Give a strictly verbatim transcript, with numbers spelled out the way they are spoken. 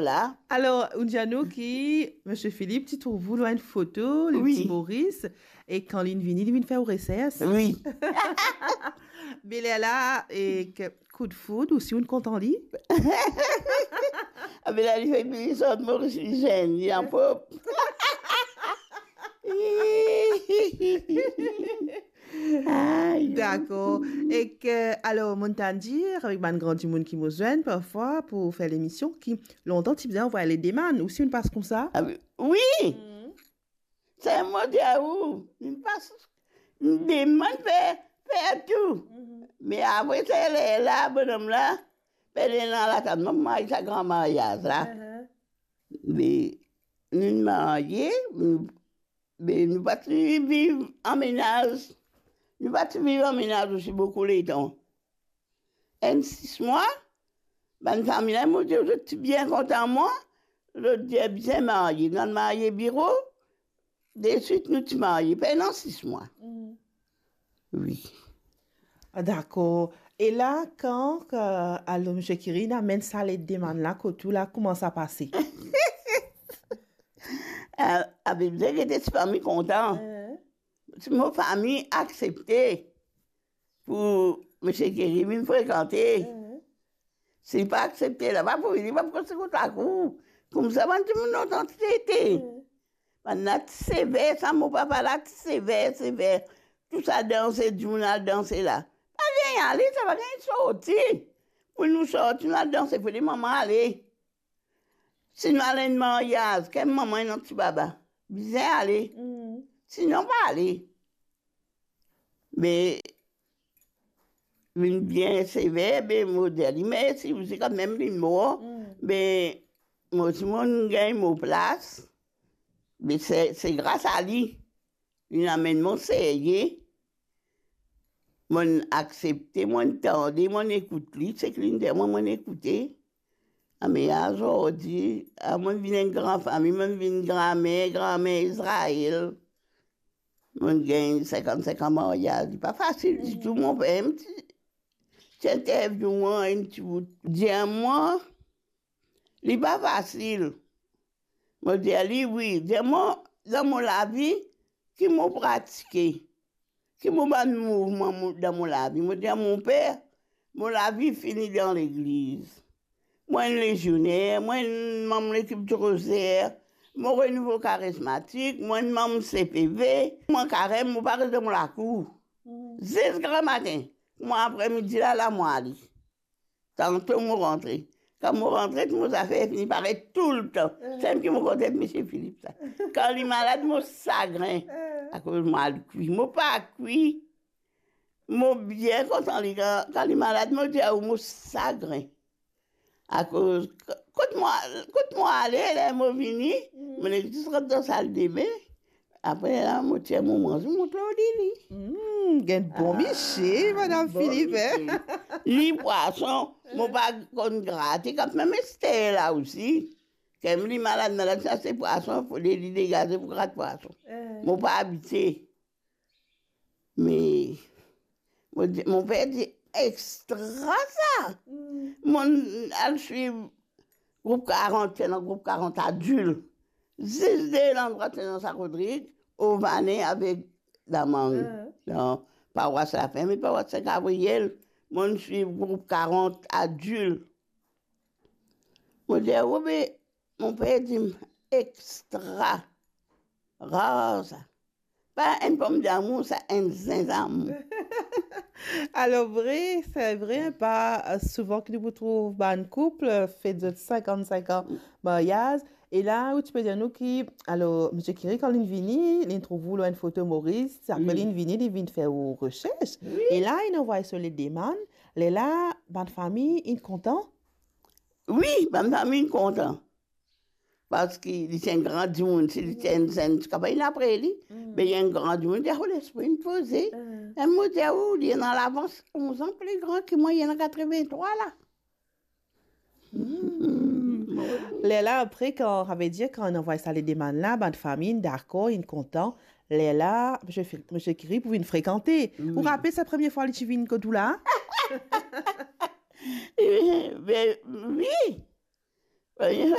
la. Alor, ou dir nou ki Misie Philippe ti trouv ou lor enn foto, li Wi. Ti Moris, e kan linn vini, li vinn fer ou resers. Wi. Me lerla, e, ke, koudfoud, ou si ou'nn kontan li? Abe la, li fer li sort Moris, li zenn, li anpop. Ay. Dakor. Ek, alor, mo'nn tann dir, avek bann gran dimoun ki mo zwenn parfwa pou fer lemision, ki lontan ti bizin anvway ledemann, ou si ou'nn pas koumsa? Ah, wi. Wi. Mm. Sa mo dir ou, li pas, li demann fer, fer tou. Mhm. Me apre sa, lerla, bonom la, pe ena latann mwa pou marye sa gran maryaz la. Mhm. Me nou marye, nou, me nou pa ti viv an menaz. Nou pa ti viv an menaz osi boukou letan. Enn sis mwa, bann fami la, mo dir, zot ti bien kontan mwa, zot dir, "Bizin marye." Nou al marye biro, deswit nou ti marye, pena sis mwa. Mm. Wi. Ah, dakor. E la, kan, kan, alor, Misie Kiri inn amenn sa ledemann la kot ou la, kouma sa pase? Ah, abe, bizin gete si fami kontan. Eh. Si mo fami aksepte pou Misie Kiri vinn frekante. Mhm. Si li pa aksepte, la pa pou vini, pa pou konstri kot lakour. Koumsa, bann dimoun lontan ti ete. Mhm. Bann la ti sever, sa mo papa la ti sever, sever. Tou sa danse, dimoun al danse la. Pa gagn ale, sa pa gagn sorti. Pou nou sorti, nou al danse, fode manman ale. Si nou al enn maryaz, ki manman ena ti baba, bizin ale. Mm. Sinon, pa ale. Me, vinn bien sever, be, mo dir li mersi, osi kanmem li mor. Mm. Be, mo ti, mo'nn gagn mo plas. Be, se, se gras a li. Li amenn mwa serye. Mo'nn aksepte, mo'nn tande, mo'nn ekout li, seki li'nn dir mwa, mo'nn ekoute. Ame azordi, a, mo'nn vinn enn gran fami, mo'nn vinn granmer, granmer Izrael. Mo'nn gagn sinkant-sink an maryaz, li pa fasil ditou. Mo papa ti, ti interview mwa enn ti bout. Dir mwa, li pa fasil. Mo dir li, wi, dir mwa, dan mo lavi, ki mo pratike, ki mo bann mouvman mo, dan mo lavi. Mo dir, mo per, mo lavi fini dan legliz. Mo enn lezioner, mo enn manm lekip di rozer, mo Renouveau Charismatique, mo enn manm C P V, mo karem, mo pa res dan mo lakour. Mm. Zis gramatin, mo apremidi la, la mo ale. Tanto mo rantre. Kan mo rantre, tou mo zafer fini paret toultan. Eh. Sel ki mo kontan Misie Philippe sa. Kan li malad, mo sagrin. Eh. Akoz mo al kwi. Mo pa kwi. Mo bien kontan li. Kan, kan li malad, mo dir ou mo sagrin. Akoz, kot mo, kot mo ale, ler mo vini, mm, mo nek zis rant dan saldebin. Apre la, mo tir mo manze, mo mont lor li. Hmm, gagn bon misie, Madam Philippe, hein? Bon misie. Li pwason, mo pa konn grate, kanmem ester la osi. Kan li malad, malad, sa se pwason, fode li degaze pou grat pwason. Eh. Mo pa abitie. Me, mo di, mo per dir, extra sa. Hmm. Mo'nn al swiv group karant, ti ena group karant adil. Zis de landrwa ti ena sa Rodrig, Ovanen avek Damang. Ah. Dan parwas Lafin, me parwas Sin Gabriel, mo'nn swiv group karant adil. Mo dir, o be, mo per dir, extra. Rar sa. Pa enn pom damour, sa enn zinzam. Alor, vre, se vre, pa, eh, souvan ki nou pou trouv bann koup, eh, fet zot sinkant-sink an maryaz. E la, ou ti pe dir nou ki, alor, Misie Kiri, kan li'nn vini, li'nn trouv ou lor enn foto Moris, apre li'nn vini, li vinn fer ou resers. Wi. E la, li'nn anvway so ledemann, lerla, bann fami, inn kontan? Wi, bann fami inn kontan. Parski li ti enn gran dimoun, si li ti enn zenn, ti kapav vinn apre li. Mm. Me li enn gran dimoun, li ti ena lespri poze. Mm. E mo dir ou, li ena lavans onz an pli gran ki mwa, li ena katreventrwa la. Mm. Lerla apre, kan, savedir, kan inn anvway sa ledemann la, bann fami inn dakor, inn kontan. Lerla, Misie Fi-, Misie Kiri pou vinn frekante. Wi. Ou rapel sa premie fwa li ti vinn kot ou la? Be, wi. Wi,